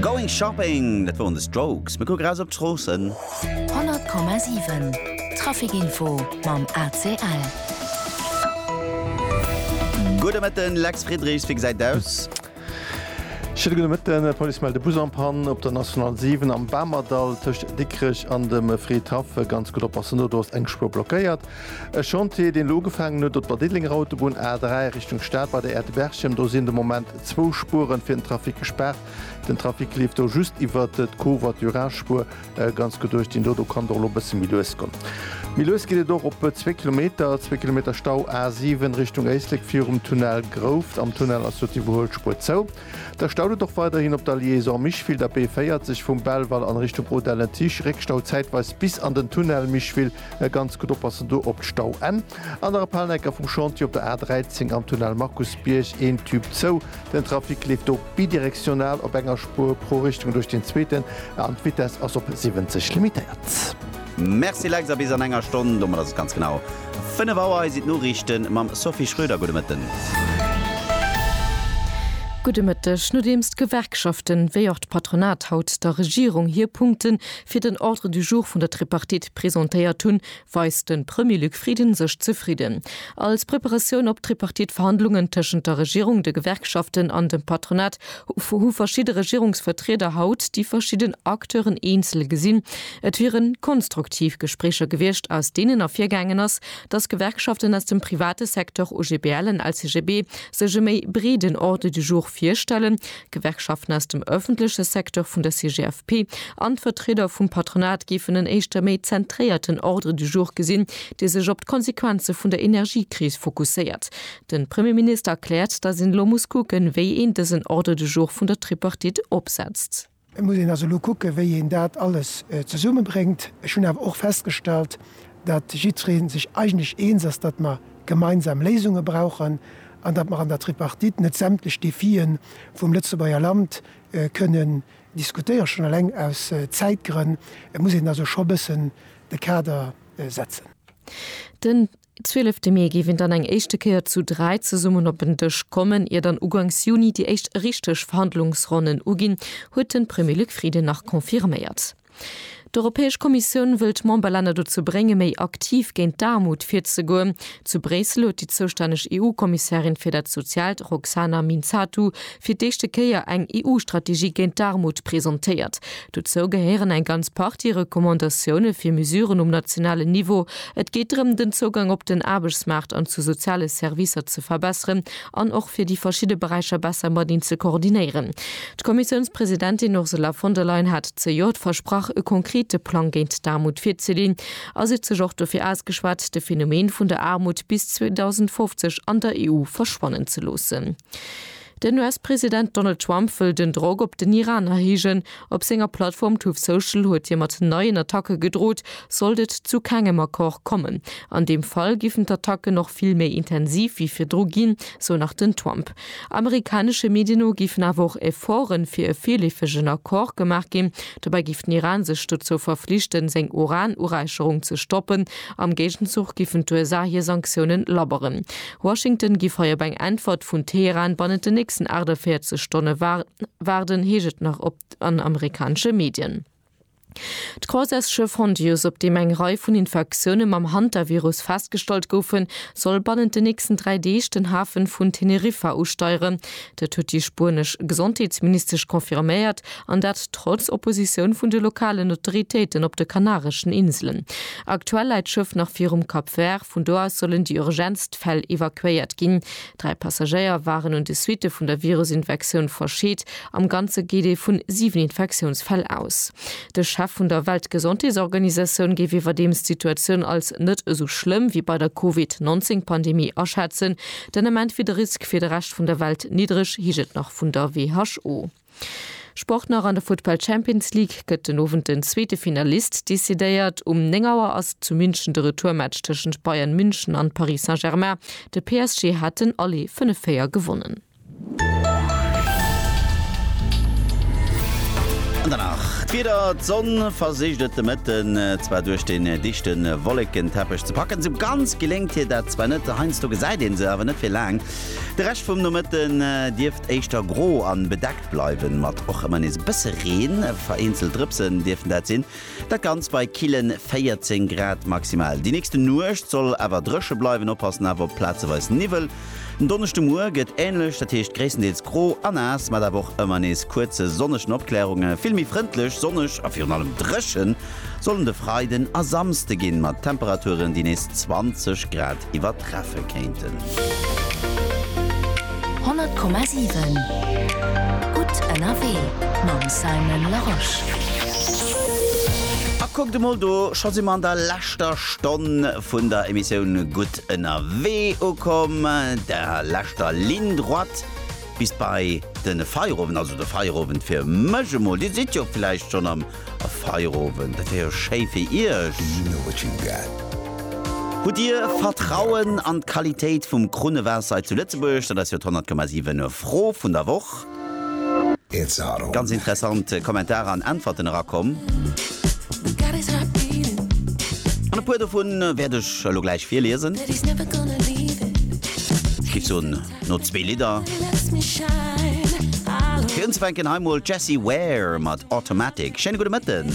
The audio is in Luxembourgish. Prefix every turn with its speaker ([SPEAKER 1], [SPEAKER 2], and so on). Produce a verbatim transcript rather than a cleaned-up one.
[SPEAKER 1] Going Shopping, dat woren The Strokes. Mir kucke raus op d'Stroossen.
[SPEAKER 2] honnert Komma siwen Traficinfo mam A C L.
[SPEAKER 1] Gudde Mëtten, Lex Friedrichs, wéi gesäit et aus?
[SPEAKER 3] Schéine gudde Mëtten. D'Police mellt e Bus en panne op der National siwen am Bamerdall tëscht Dikrech an dem Fridhaff. Ganz gutt oppassen do, do ass eng Spuer blockéiert. E Chantier, deen elo ugefaangen huet op der Diddelenger Autobunn A dräi Richtung Stad bei der Aire de Berchem. Do sinn de Moment zwou Spueren fir den Trafic gespaart. Den Trafic leeft do just iwwert d'Covoiturage-Spuer. Ganz gutt duerch deen do, do kann et och elo e bësse méi lues goen. Méi lues geet et och op zwee Kilometer, zwee Kilometer Stau A siwen Richtung Éislek virum Tunnel Grouft. Am Tunnel ass jo d'Iwwerhuelspuer zou. Da staut et och weiderhin op der Liaison Micheville, der B véierzeg vum Belval an Richtung Audun-le-Tiche. Réckstau zäitweis bis an den Tunnel Micheville. Ganz gutt oppassen do op d'Stauenn. An der Palnecker vum Chantier op der A dräizéng am Tunnel Markusbierg een Tube zou. Den Trafic leeft do bidirektional op enger Spuer pro Richtung duerch den zweeten an d'Vitess ass op siwwenzeg limitéiert.
[SPEAKER 1] Merci Lex a bis an enger Stonn. Domat ass et ganz genau fënnef Auer. Hei sinn d'Noriichte mam Sophie Schröder. Gudde Mëtten.
[SPEAKER 4] Gudde Mëtteg. Nodeems d'Gewerkschaften wéi och d'Patronat haut der Regierung hir Punkte fir den Ordre du jour vun der Tripartite presentéiert hunn, weist de Premier Luc Frieden sech zefridden. Als Preparatioun op d'Tripartite-Verhandlungen tëschent der Regierung, de Gewerkschaften an dem Patronat hu verschidde Regierungsvertrieder haut déi verschidden Acteuren eenzel gesinn. Et wiere konstruktiv Gespréicher gewiescht, aus deenen ervirgaangen ass, datt Gewerkschaften aus dem private Secteur, O G B L an L C G B, sech e méi breeden Ordre du jour virstellen. Gewerkschaften aus dem ëffentleche Secteur vun der C G F P an d'Vertrieder vum Patronat géifen en éischter méi zentréierten Ordre du jour gesinn, dee sech op d'Konsequenze vun der Energiekris fokusséiert. De Premierminister erkläert, datt een elo muss kucken, wéi een dësen Ordre du jour vun der Tripartite opsetzt.
[SPEAKER 5] Et muss een also elo kucken, wéi een dat alles zesummebréngt. Ech hunn awer och festgestallt, datt jiddweree sech eigentlech eens ass, datt mer gemeinsam Léisunge brauchen an datt mer an der Tripartite net sämtlech Defie vum Lëtzebuerger Land kënnen diskutéieren, schonn eleng aus Zäitgrënn. Et muss een also scho bëssen de Kader setzen.
[SPEAKER 4] Den zwielefte Mee géif een dann eng éischte Kéier zu dräi zesummen op en Dësch kommen, ier dann uganks Juni déi éischt richteg Verhandlungsronnen uginn, huet de Premier Luc Frieden nach confirméiert. D'Europäesch Kommissioun wëll d'Memberlänner dozou bréngen, méi aktiv géint d'Aarmut virzegoen. Zu Bréissel huet déi zoustänneg E U-Kommissärin fir dat Soziaalt, Roxana Mînzatu, fir d'éischte Kéier eng E U-Strategie géint d'Aarmut presentéiert. Dozou gehéieren eng ganz Partie Recommandatioune fir Mesuren um nationalen Niveau. Et geet drëm, den Zougang op den Aarbechtsmaart an zu soziale Servicer ze verbesseren an och fir déi verschidde Beräicher besser mateneen ze koordinéieren. D'Kommissiounspresidentin Ursula von der Leyen hat zejoert versprach, e konkrete Plang géint d'Aarmut virzeleeën a si huet sech och dofir ausgeschwat, de Phänomen vun der Aarmut bis zweedausendfofzeg an der E U verschwannen ze loossen. Den U S-President Donald Trump wëll den Drock op den Iran erhéijen. Op senger Plattform Truth Social huet hie mat neien Attacke gedrot, sollt et zu kengem Accord kommen. An deem Fall géifen d'Attacken och vill méi intensiv wéi virdru ginn, sou nach den Trump. Amerikanesche Medien no géifen awer och Efforte fir e virleefegen Accord gemaach ginn. Dobäi géif den Iran sech dozou verflichten, seng Uran-Uräicherung ze stoppen. Am Géigenzuch géifen d'U S A hir Sanktioune labberen. Washington géif hei op eng Äntwert vun Teheran bannent den nächsten achtundvéierzeg Stonne waarden, heescht et nach op an amerikanesche Medien. D'Croisièresschëff Hondius, op deem eng Rei vun Infektioune mam Hantavirus festgestallt goufen, soll bannent den nächsten dräi Deeg den Hafe vun Teneriffa usteieren. Dat huet déi spuenesch Gesondheetsministesch confirméiert, an dat trotz Oppositioun vun de lokalen Autoritéiten op de Kanareschen Inselen. Aktuell läit d'Schëff nach virum Cap Vert, vun do aus sollen déi urgentst Fäll evakuéiert ginn. Dräi Passagéier waren un de Suitte vun der Virusinfektioun verscheet, am Ganze geet ee vun siwen Infektiounsfäll aus. De Chef vun der Weltgesondheetsorganisatioun géif iwwerdeems d'Situatioun als net esou schlëmm wéi bei der Covid nonzéng Pandemie aschätzen. Den Ament wier de Risk fir de Rescht vun der Welt niddreg, heescht et nach vun der W H O. Sport nach. An der Futtball Champions League gëtt den Owend den zweete Finalist decidéiert. Um néng Auer ass zu München de Retourmatch tëschent Bayern München an Paris Saint-Germain. De P S G hat den Aller fënnef véier gewonnen.
[SPEAKER 1] An danach D'Wieder, D'Sonn versicht et de Mëtten zwar duerch den dichte Wollekenteppech ze packen, sou ganz geléngt hir dat zwar net, heiansdo gesäit een se awer net fir laang. De Rescht vum Nomëtten dierft éischter gro an bedeckt bleiwen, mat och ëmmer nees e bësse Reen, vereenzelt Drëpsen dierften dat sinn. Dat Ganzt bei killen véierzéng Grad maximal. Déi nächste Nuecht soll awer dréche bleiwen, oppassen awer op plazeweis Niwwel. Den Donneschdemuer gëtt änlech, dat heescht gréisstendeels gro a naass, mat awer och ëmmer nees kuerze sonnegen Opklärunge. Vill méi frëndlech, sonneg a virun allem dréche sollen de Freiden a Samsde ginn, mat Temperaturen, déi nees zwanzeg Grad iwwertreffe kéinten.
[SPEAKER 2] Honnert Komma siwen, Gutt ënnerwee mam Simon Larosche.
[SPEAKER 1] A kuckt emol do, scho si mer an der leschter Stonn vun der Emissioun Gutt ënnerwee ukomm, der leschter Ligne droite bis bei de Feierowend, also de Feierowend fir mech emol. Dir sidd jo villäicht schonn am Feierowend, dat wär jo schéi fir iech. Hutt Dir Vertrauen an d'Qualitéit vum Krunnewaasser hei zu Lëtzebuerg? Dat ass jo d'honnert Komma siwen Fro vun der Woch. Ganz interessant Kommentarer an Äntwerten erakomm. An e puer dovun wäert ech elo gläich virliesen. Ech géif soen, no zwee Lidder. Fir unzefänken hei mol d'Jessie Ware mat Automatic. Schéine gudde Mëtten.